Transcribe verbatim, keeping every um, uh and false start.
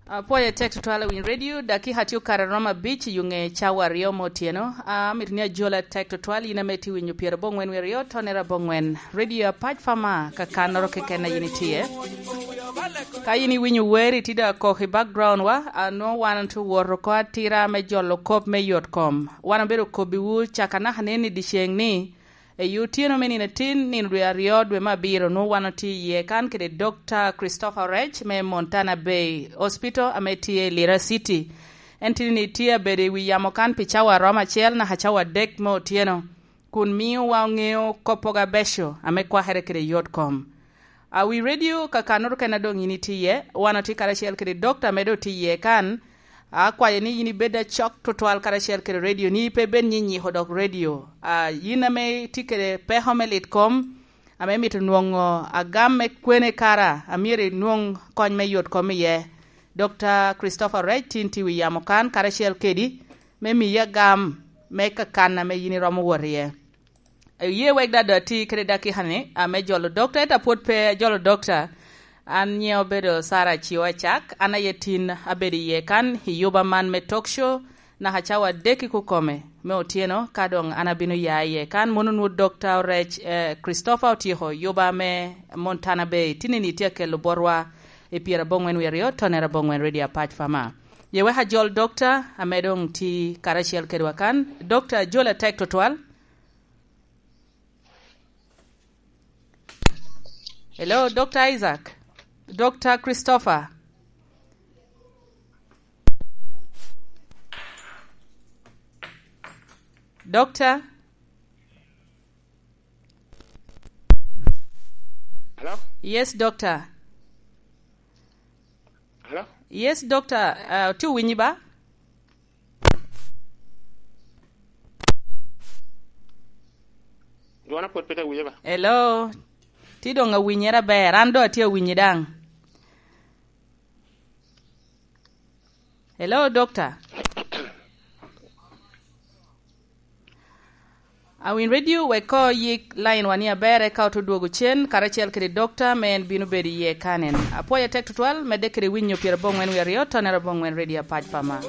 Apwoyo tek tutwal awiny radio, dakika tye okare romo abic i ŋe cawa aryo me otyeno. Amito ni ajola tek tutwal, yin ame tye winyo pyera boŋwen wi aryo, tonera boŋwen. Radio apac pa ma, ka kannoro keken a yin itye. Ka yin iwinyo wer, itye dok akok i background wa, anwo wan tye wot oko atira me jolo kop me yot kom. Wan obedo kobbiwu caka naka neni i dyeceŋ ni, Eyi otyeno me nino atin, nino dwe aryo, dwe me abiro, nwo wan otye iye kan kede Dokta Christopher Rech me Montana Bay Hospital ame tye i Lira City. En tini ni tye abedo i wi yamo kan pi cawa arom acel naka cawa adek me otyeno, kun miyo wa oŋeo koppogo abeco ame kwakere kede yot kom. A wi radio ka kannoro kena doŋ yin itye iye, wan otye karacel kede dokta ame doŋ tye iye kan. Akwayo ni yin ibed acok tutwal karacel kede radio, ni pe bed nyinyiko dok radio. A yin ame itye kede peko me lit kom, ame mito nwoŋo agam me kwene kara, a myero inwoŋ kony me yot kom iye. Dokta Christopher Rech tin tye wi yamo kan karacel kedi, me miyi agam me kakan ame yin iromo wot iye. Iye wek dada ti kede dakika ni, ame jolo dokta, enta pwod pe jolo dokta. An nyiŋa obedo Sarah Acioa Acak, an aye tin abedo iye kan, i yuba man me talk show, naka cawa adek i kukome me otyeno, ka doŋ an abino ya iye kan, mono nwo Dokta Orec, eh, Christopher otyeko yuba me Montana Bay, tinni ni tye akelo botwa i pyera boŋwen wi aryo, tonera boŋwen radio apac pa ma. Ye wek ajol dokta, ame doŋ ti karacel kedwa kan, dokta jol atek tutwal. Hello, Dokta Isaac. Dokta Christopher. Dokta? Hello? Yes, Dokta. Hello? Yes, Dokta. Uh, ti winyi ba? Dwona pwod pe te winyo ba? Hello. Ti doŋ awinyere aber. An doŋ atye awinyi daŋ. Hello, Dokta. Awin radio wek ko yik line wani aber, eka oto dwogo cen, karacel kede dokta, me en bino bedo iye kanen. Apwoyo tek tutwal, medde kede winyo pyera boŋwen wi aryo, tonera boŋwen radio apac pa ma.